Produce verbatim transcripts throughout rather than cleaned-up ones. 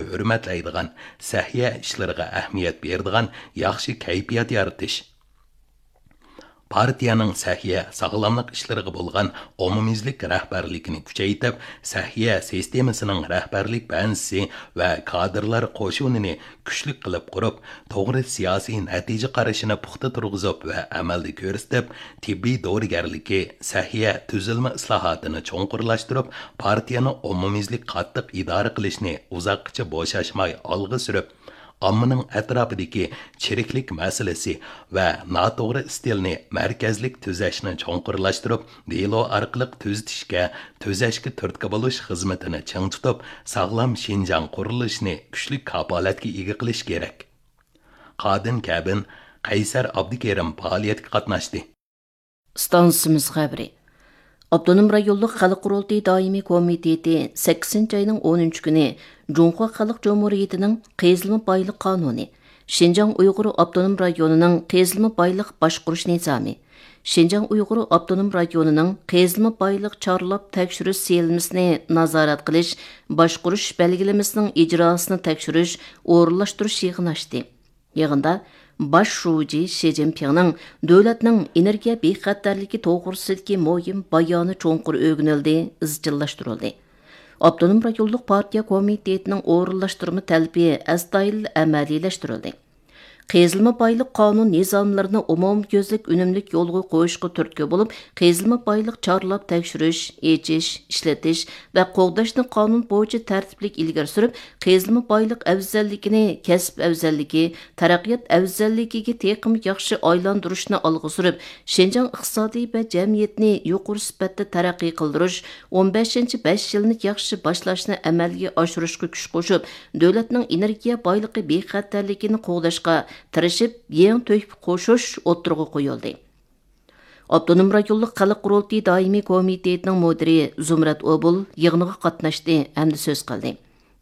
ھۆرمەتلەيدىغان، سەھىيە ئىشلىرىغا ئەھمىيەت بېرىدىغان ياخشى كەيپىيات يارىتىش. پارتىيەنىڭ سەھىيە، ساغلاملىق ئىشلىرىغا بولغان ئومۇميۈزلۈك رەھبەرلىكىنى كۈچەيتىپ، سەھىيە سىستېمىسىنىڭ رەھبەرلىك بەنزىسى ۋە كادىرلار قوشۇنىنى كۈچلۈك قىلىپ قۇرۇپ، توغرا سىياسىي نەتىجە قارىشىنى پۇختا تۇرغۇزۇپ ۋە ئەمەلدە كۆرسىتىپ، تېببىي دورىگەرلىكى، سەھىيە تۈزۈلمە ئىسلاھاتىنى چوڭقۇرلاشتۇرۇپ، پارتىيەنى ئومۇميۈزلۈك قاتتىق ئىدارە قىلىشنى ئۇزاققىچە بوشاشماي ئالغا سۈرۈپ، ئاممىنىڭ ئەتراپىدىكى چىرىكلىك مەسىلىسى ۋە ناتوغرا ئىستىلنى مەركەزلىك تۈزەشنى چوڭقۇرلاشتۇرۇپ، دېلو ئارقىلىق تۈزىتىشكە، تۈزەشكە تۈرتكە بولۇش خىزمىتىنى چىڭ تۇتۇپ، ساغلام شىنجاڭ قۇرۇلۇشىنى كۈچلۈك كاپالەتكە ئىگە قىلىش كېرەك. قادىن كەبىن، قەيسەر ئابدۇكېرىم پائالىيەتكە قاتناشتى. ئىستانسىمىز خەۋىرى. ئاپتونوم رايونلۇق خەلق قۇرۇلتىيى دائىمىي كومىتېتى سەككىزىنچى ئاينىڭ ئونىنچى كۈنى جۇڭخۇا خەلق جۇمھۇرىيىتىنىڭ قېزىلما بايلىق قانۇنى، شىنجاڭ ئۇيغۇر ئاپتونوم رايونىنىڭ قېزىلما بايلىق باشقۇرۇش نىزامى، شىنجاڭ ئۇيغۇر ئاپتونوم رايونىنىڭ قېزىلما بايلىق چارلاپ تەكشۈرۈش سىيلىمىسىنى نازارەت قىلىش، باشقۇرۇش بەلگىلىمىسىنىڭ ئىجراسىنى تەكشۈرۈش، ئورۇنلاشتۇرۇش يىغىنى ئاچتى. يىغىندا باش شۇجى شى جىنپىڭنىڭ دۆلەتنىڭ ئېنېرگىيە بىخەتەرلىكى توغرىسىدىكى مۇھىم بايانى چوڭقۇر ئۆگىنىلدى، ئىزچىللاشتۇرۇلدى. ئاپتونوم رايونلۇق پارتىيە كومىتېتىنىڭ ئورۇنلاشتۇرما تەلىپى ئەستايىدىل ئەمەلىيلەشتۈرۈلدى. قېزىلما بايلىق قانۇن نىزاملىرىنى ئومۇميۈزلۈك ئۈنۈملۈك يولغا قويۇشقا تۈرتكە بولۇپ، قېزىلما بايلىق چارلاپ تەكشۈرۈش، ئېچىش، ئىشلىتىش ۋە قوغداشنى قانۇن بويىچە تەرتىپلىك ئىلگىرى سۈرۈپ، قېزىلما بايلىق ئەۋزەللىكىنى كەسىپ ئەۋزەللىكى، تەرەققىيات ئەۋزەللىكىگە تېخىمۇ ياخشى ئايلاندۇرۇشنى ئالغا سۈرۈپ، شىنجاڭ ئىقتىسادى ۋە جەمئىيىتىنى يۇقىرى سۈپەتتە تەرەققىي قىلدۇرۇش، ئون بەشىنچى بەش يىلنى ياخشى باشلاشنى ئەمەلگە ئاشۇرۇشقا كۈچ قوشۇپ، دۆلەتنىڭ ئېنېرگىيە بايلىقى بىخەتەرلىكىنى قوغداشقا تىرىشىپ، يېڭى تۆھپە قوشۇش ئوتتۇرىغا قويۇلدى. ئاپتونوم رايونلۇق خەلق قۇرۇلتىيى دائىمىي كومىتېتىنىڭ مۇدىرى زۇمرەت ئوبۇل يىغىنغا قاتناشتى ھەمدە سۆز قىلدى.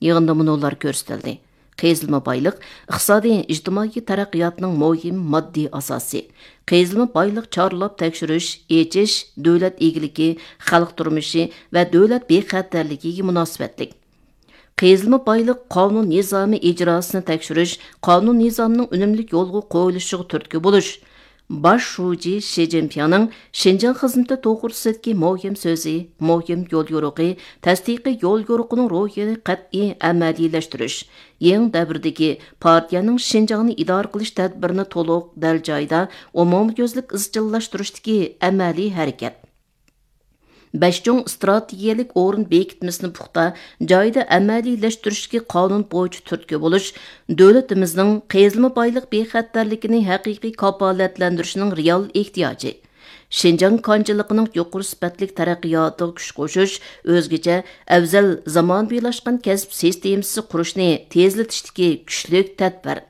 يىغىندا مۇنۇلار كۆرسىتىلدى: قېزىلما بايلىق ئىقتىسادىي، ئىجتىمائىي تەرەققىياتنىڭ مۇھىم ماددىي ئاساسى. قېزىلما بايلىق چارلاپ تەكشۈرۈش، ئېچىش دۆلەت ئىگىلىكى، خەلق تۇرمۇشى ۋە دۆلەت بىخەتەرلىكىگە مۇناسىۋەتلىك. قېزىلما بايلىق قانۇن نىزامى ئىجراسىنى تەكشۈرۈش، قانۇن نىزامنىڭ ئۈنۈملۈك يولغا قويۇلۇشىغا تۈرتكە بولۇش، باش شۇجى شى جىنپىڭنىڭ شىنجاڭ خىزمىتى توغرىسىدىكى مۇھىم سۆزى، مۇھىم يوليورۇقى، تەستىقىي يوليورۇقىنىڭ روھىنى قەتئىي ئەمەلىيلەشتۈرۈش، يېڭى دەۋردىكى پارتىيەنىڭ شىنجاڭنى ئىدارە قىلىش تەدبىرىنى تولۇق، دەل جايىدا، ئومۇميۈزلۈك ئىزچىللاشتۇرۇشتىكى ئەمەلىي ھەرىكەت. بەش چوڭ ئىستراتېگىيەلىك ئورۇن بېكىتمىسىنى پۇختا، جايىدا ئەمەلىيلەشتۈرۈشكە قانۇن بويىچە تۈرتكە بولۇش دۆلىتىمىزنىڭ قېزىلما بايلىق بىخەتەرلىكىنى ھەقىقىي كاپالەتلەندۈرۈشنىڭ رېئال ئېھتىياجى. شىنجاڭ كانچىلىقىنىڭ يۇقىرى سۈپەتلىك تەرەققىياتىغا كۈچ قوشۇش، ئۆزگىچە ئەۋزەل زامانىۋىلاشقان كەسىپ سىستېمىسى قۇرۇشنى تېزلىتىشتىكى كۈچلۈك تەدبىر.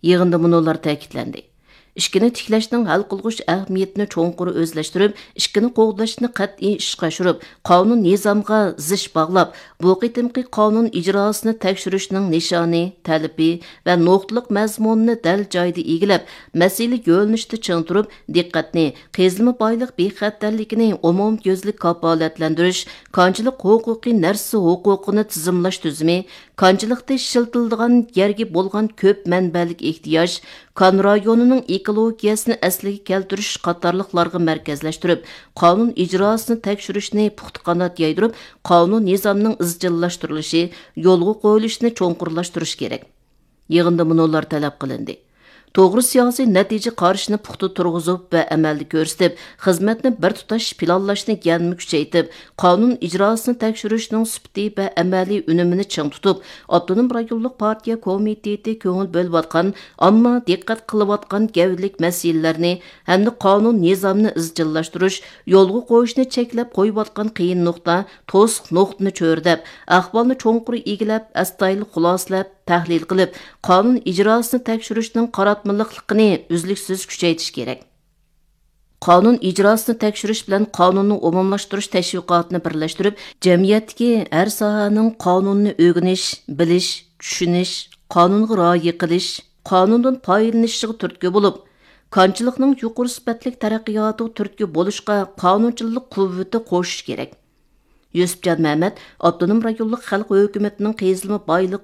يىغىندا مۇنۇلار تەكىتلەندى: ئىككىنى تىكلەشنىڭ ھەل قىلغۇچ ئەھمىيىتىنى چوڭقۇر ئۆزلەشتۈرۈپ، ئىككىنى قوغداشنى قەتئىي ئىشقا ئاشۇرۇپ، قانۇن نىزامغا زىچ باغلاپ، بۇ قېتىمقى قانۇن ئىجراسىنى تەكشۈرۈشنىڭ نىشانى، تەلىپى ۋە نۇقتىلىق مەزمۇنىنى دەل جايىدا ئىگىلەپ، مەسىلە يۆنىلىشىدە چىڭ تۇرۇپ، دىققەتنى قېزىلما بايلىق بىخەتەرلىكىنى ئومۇميۈزلۈك كاپالەتلەندۈرۈش، كانچىلىق ھوقۇقى نەرسە ھوقۇقىنى تىزىملاش تۈزۈمى، كانچىلىقتا ئىشلىتىلىدىغان يەرگە بولغان كۆپ مەنبەلىك ئېھتىياج، كان رايونىنىڭ ئېكولوگىيەسىنى ئەسلىگە كەلتۈرۈش قاتارلىقلارغا مەركەزلەشتۈرۈپ، قانۇن ئىجراسىنى تەكشۈرۈشنى پۇختا قانات يايدۇرۇپ، قانۇن نىزامنىڭ ئىزچىللاشتۇرۇلۇشى، يولغا قويۇلۇشىنى چوڭقۇرلاشتۇرۇش كېرەك. يىغىندا مۇنۇلار تەلەپ قىلىندى: توغرا سىياسىي نەتىجە قارىشىنى پۇختا تۇرغۇزۇپ ۋە ئەمەلدە كۆرسىتىپ، خىزمەتنى بىر تۇتاش پىلانلاشنى يەنىمۇ كۈچەيتىپ، قانۇن ئىجراسىنى تەكشۈرۈشنىڭ سۈپىتى ۋە ئەمەلىي ئۈنۈمىنى چىڭ تۇتۇپ، ئاپتونوم رايونلۇق پارتىيە كومىتېتى كۆڭۈل بۆلۈۋاتقان، ئامما دىققەت قىلىۋاتقان گەۋدىلىك مەسىلىلەرنى ھەمدە قانۇن نىزامنى ئىزچىللاشتۇرۇش، يولغا قويۇشنى چەكلەپ قويۇۋاتقان قىيىن نۇقتا، توسۇق نۇقتىنى چۆرىدەپ، ئەھۋالنى چوڭقۇر ئىگىلەپ، ئەستايىدىل خۇلاسىلەپ، تەھلىل قىلىپ، قانۇن ئىجراسىنى تەكشۈرۈشنىڭ قاراتمىلىقلىقىنى ئۈزلۈكسىز كۈچەيتىش كېرەك. قانۇن ئىجراسىنى تەكشۈرۈش بىلەن قانۇننى ئومۇملاشتۇرۇش تەشۋىقاتىنى بىرلەشتۈرۈپ، جەمئىيەتتىكى ھەر ساھەنىڭ قانۇننى ئۆگىنىش، بىلىش، چۈشىنىش، قانۇنغا رىئايە قىلىش، قانۇندىن پايدىلىنىشىغا تۈرتكە بولۇپ، كانچىلىقنىڭ يۇقىرى سۈپەتلىك تەرەققىياتىغا تۈرتكە بولۇشقا قانۇنچىلىق قۇۋۋىتى قوشۇش كېرەك. يۈسۈپجان مەمەت ئاپتونوم رايونلۇق خەلق ھۆكۈمىتىنىڭ قېزىلما بايلىق